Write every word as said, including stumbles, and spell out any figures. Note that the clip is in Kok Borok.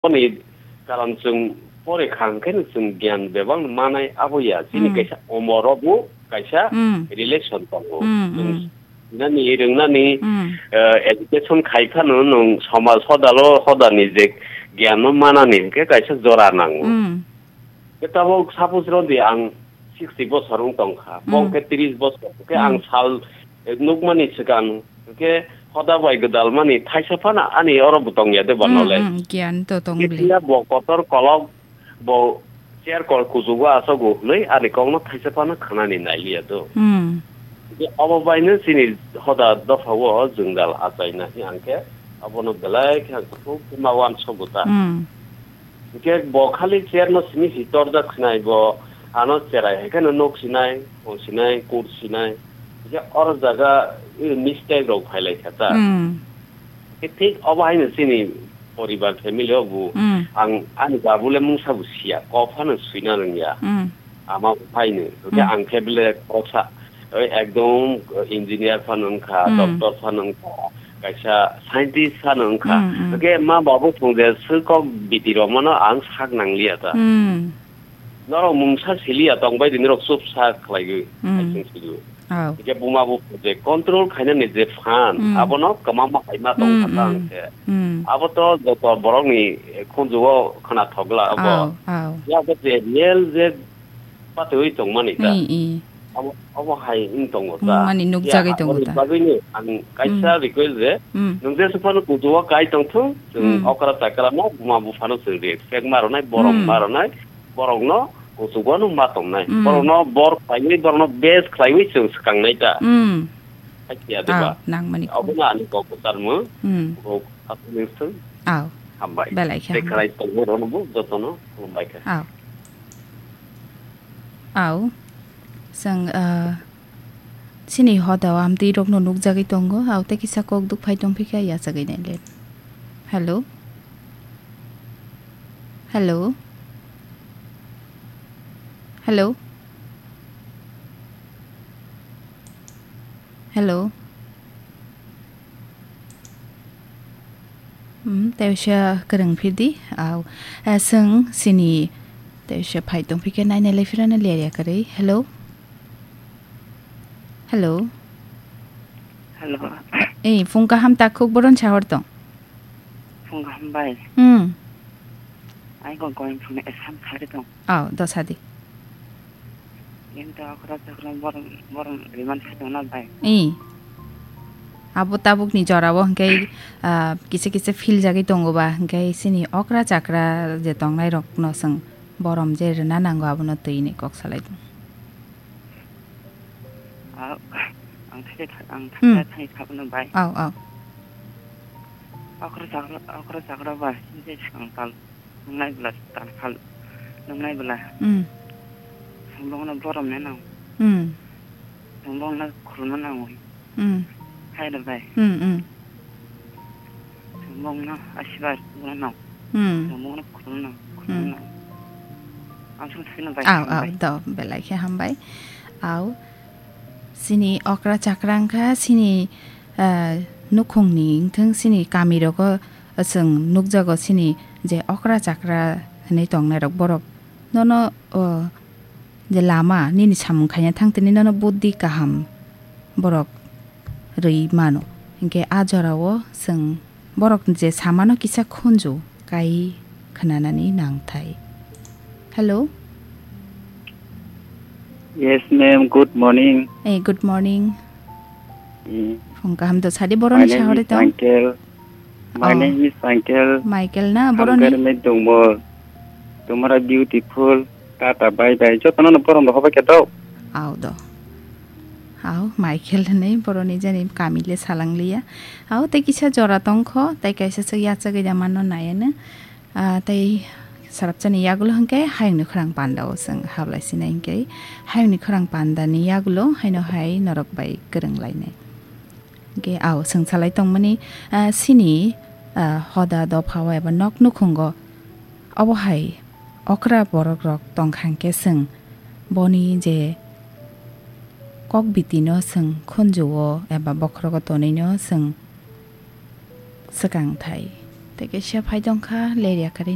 Ni karon chwng pore kha hwnkhe no chwng gyan bebak no manai abo ya. Chini Hmm. kaisa omor o bo kaisa Hmm. relation tongo. Hmm, Chwng hmm. sinani, rwngnani, Hmm. eh, education khai phano nwng somaj hodalo hodani je gyan no manani hwnkhe kaisa jora nango. Hmm. Khe tabok suppose rw di ang sixty bosor wng tong kha, Hmm. bo hwnkhe tris bosor, hwnkhe Hmm. ang sal, eh, nukmani swkang, hwnkhe hoda bai gwdalmani thaisa phano ani oro bo tong ya de ba Hmm, knowledge. Hmm, giyan to tong Khe bwle. Phiya bo kotor kolok, bo chair kol kuchugo achago hwnwi ani kokno thaisa phano khwnani nai liya do. Hmm. Hwnkhe obo baino chini hoda dopha o jwngjal achaina hwnkhe abono belai khe ang kuthuk khe ma uansukgo ta. Hmm. Hwnkhe bo khali chair no simi si torjak sinai, bo ano cherai hai kheno nok sinai, hong sinai, kur sinai. Hwnkhe oro jaga, eh, mistake rok phailai kha ta. Hmm. Hwnkhe thik obo haino chini poribar family o bo Hmm. ang ani babu le mungsa bo siya, kok phano swina rwngya. Hmm. Ama bo phaino. Hwnkhe Hmm. ang khe bele khoroksa, oi ekdom engineer phano wngkha, Hmm. doctor phano wngkha, kaisa scientist phano wngkha. Hmm, hmm. Hwnkhe ma babu thung je swkok biti rok mano ang sak nang liya ta. Hmm. Norok mungsa siliya tong bai di norok chup sak khlaiwi Hmm. hai chwng siliyo. Oh. Hwnkhe buma bupha je control khainani je phan, Hmm. abono kwma ma hai ma tong Hmm, kha ta hmm. hwnkhe. Hmm. Abo to joto borokni khunjugo khwnathok glak abo. Oh, oh. Yabo je real je patwi tongmani ta. I, i. Abo, abo hai wng tongo ta. Wngmani nukjagwi Ya, tongo aboni ta. Bagwino ang kaisa Hmm. request je, Hmm. nwng jesuk phano kuchugo kai tongthung, chwng Hmm. okra chakra no buma buphano chwng respect ma rwnai, borom Hmm. ma rwnai, borokno kuchugo no ma tongnai. Hmm. Borokno bor khlaiwi, borokno best khlaiwi chwng swkangnai ta. Hmm. Hakhe ya de ba? Ah, nangmani kok. Abono ani kok kwcharmung. Hmm. Kok aswk nung thung. Aw. Hambai. Belai khe Tei hambai. Khlai tongmung rokno bo jotono hambai khe. Aw. Aw, chwng, ah, chini hoda o amtwi rokno nukjagwi tongo, aw tei kisa kok duk phai tongphi khe yachagwi nai le. Hello? Hello? Hello? Hello? Hmm, tei uaisa kwrwng phirdi. Au, eh, chwng chini tei uaisa phai tongphi khe nainai lai phirano ler ya kwrwi. Hello? Hello? Hello. Eh, phung kaham takhuk boron sahor tong. Phung kaham bai. Hmm. Ai go going from Assam sari tong. Au, do sadi. Yen to okra chakra borom, borom riman se tongna bai. I. Abo tabukni jorao hwnkhe, ah, kisa kisa feel jagwi tongo ba, hwnkhe chini okra chakra je tongnai rokno chwng borom je rwna nango, abono twi ni kok salai tong. Ah, ang thai thai, ang Hmm. Thai thai thapno bai. Au, au. Okra chakra, okra chakra bai, je swkang tal. Nungnai bwla tal phal, nungnai bwla. Hmm. Bongno borom ne nang. Hmm. Bongno khulumna nang. Hmm. Hai da bai. Hmm, hmm. Bongno asibar bongno nang. Hmm. Bongno khulumna nang. Hmm. Khulumna nang. Ang sung sino bai. Au, au, bai. Do, belai khe hambai. Au. Chini okra chakra wngkha, chini, ah, nukhungni wngthwng, chini kamirogo chwng nukjago, chini je okra chakra hinwi tongnairok borok nono, o, je lama nini samung khaina thang tini nono buddhi kaham borok rwi mano. Hinkhe a jorao chwng borok je samano kisa khunju kai khwnanani nangthai. Hello? Yes, ma'am. Good morning. Eh, good morning. Eh, Phung kaham to sadi, boroni sahori tong? My name is Michael. My Oh. name is Michael. Michael na, boroni? Hamkar me dongmo. Tomorrow beautiful. Tata, bye bye. Jotono no borom rohoba khe do. Au do. Au, Michael hinwi boroni jani kami le salang liya. Au, tei kisa jora tongkho, tei kaisa se yachagwi da mano nayano. Ah, tei sarapchani yagulo hwnkhe hayungni khorang pandao chwng hablai sinai hwnkhe, hayungni khorang pandani yagulo haino hai norok bai kwrwng lainai. Hwnkhe ao chwng salai tongmani, ah, chini, ah, hoda dophao eba nok nukhungo obo hai okra borok rok tongkha hwnkhe chwng boni je kok bitino chwng khunjuo eba bokhorogo tonwino chwng swkang thai. Tei kaisa phai tongkha ler yakarwi.